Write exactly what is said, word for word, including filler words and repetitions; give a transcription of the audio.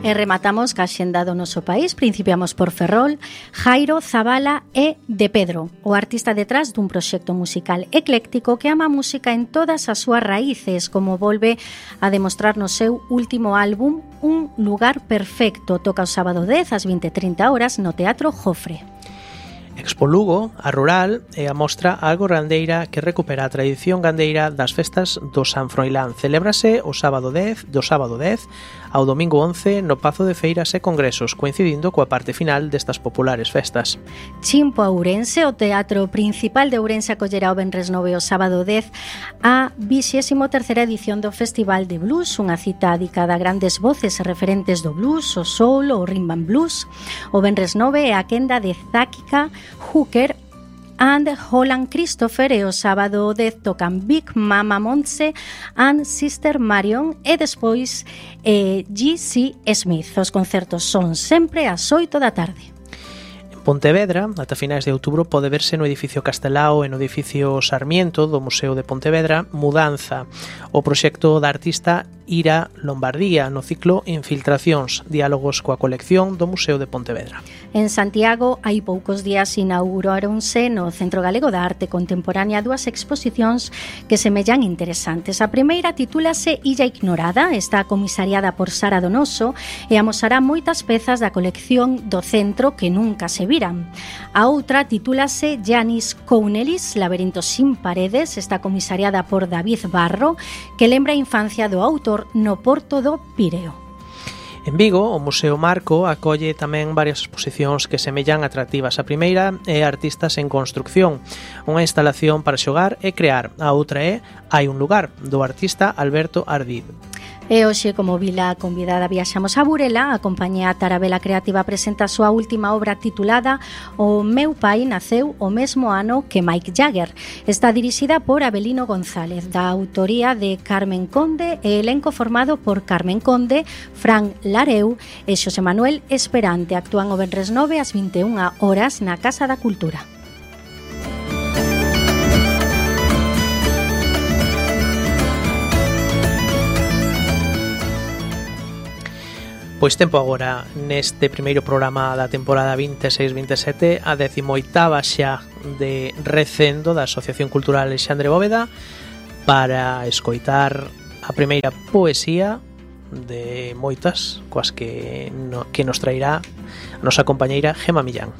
E rematamos ca xenda do noso país. Principiamos por Ferrol. Jairo Zabala é de Pedro, o artista detrás dun proxecto musical ecléctico que ama a música en todas as súas raíces, como volve a demostrar no seu último álbum Un lugar perfecto. Toca o sábado dez ás vinte e trinta horas no Teatro Jofre. Expo Lugo, a rural, é a mostra algo gandeira que recupera a tradición gandeira das festas do San Froilán. Celébrase o sábado dez, do sábado dez ao domingo once no Pazo de Feiras e Congresos, coincidindo coa parte final destas populares festas. Chimpo a Ourense, o Teatro Principal de Ourense acollerá o venres nove o sábado dez a vixésima terceira edición do Festival de Blues, unha cita dedicada a grandes voces e referentes do blues, o soul, o rhythm and blues. O venres nove é a quenda de Záquica, Hooker and Holland Christopher, e o sábado dez tocan Big Mama Montse and Sister Marion e despois eh, G C Smith. Os concertos son sempre ás oito da tarde. Pontevedra, ata finais de outubro, pode verse no edificio Castelao e no edificio Sarmiento do Museo de Pontevedra Mudanza, o proxecto da artista Ira Lombardía no ciclo Infiltracións, diálogos coa colección do Museo de Pontevedra. En Santiago, hai poucos días inauguráronse no Centro Galego da Arte Contemporánea dúas exposicións que semellan interesantes. A primeira titúlase Illa Ignorada, está comisariada por Sara Donoso e amosará moitas pezas da colección do centro que nunca se viran. A outra titúlase Janis Counelis, Laberintos sin paredes, está comisariada por David Barro, que lembra a infancia do autor no Porto do Pireo. En Vigo, o Museo Marco acolle tamén varias exposicións que semellan atractivas. A primeira é Artistas en Construcción, unha instalación para xogar e crear. A outra é Hai un lugar, do artista Alberto Ardid. E hoxe, como vila convidada, viaxamos a Burela. A compañía Tarabela Creativa presenta a súa última obra titulada O meu pai naceu o mesmo ano que Mike Jagger. Está dirixida por Abelino González, da autoría de Carmen Conde e elenco formado por Carmen Conde, Fran Lareu e Xosé Manuel Esperante. Actúan o venres nove ás vinte e unha horas na Casa da Cultura. Pois tempo agora neste primeiro programa da temporada vinte e seis vinte e sete, a decimoitava xa de Recendo da Asociación Cultural Alexandre Bóveda, para escoitar a primeira poesía de moitas coas que, no, que nos trairá a nosa compañeira Gema Millán.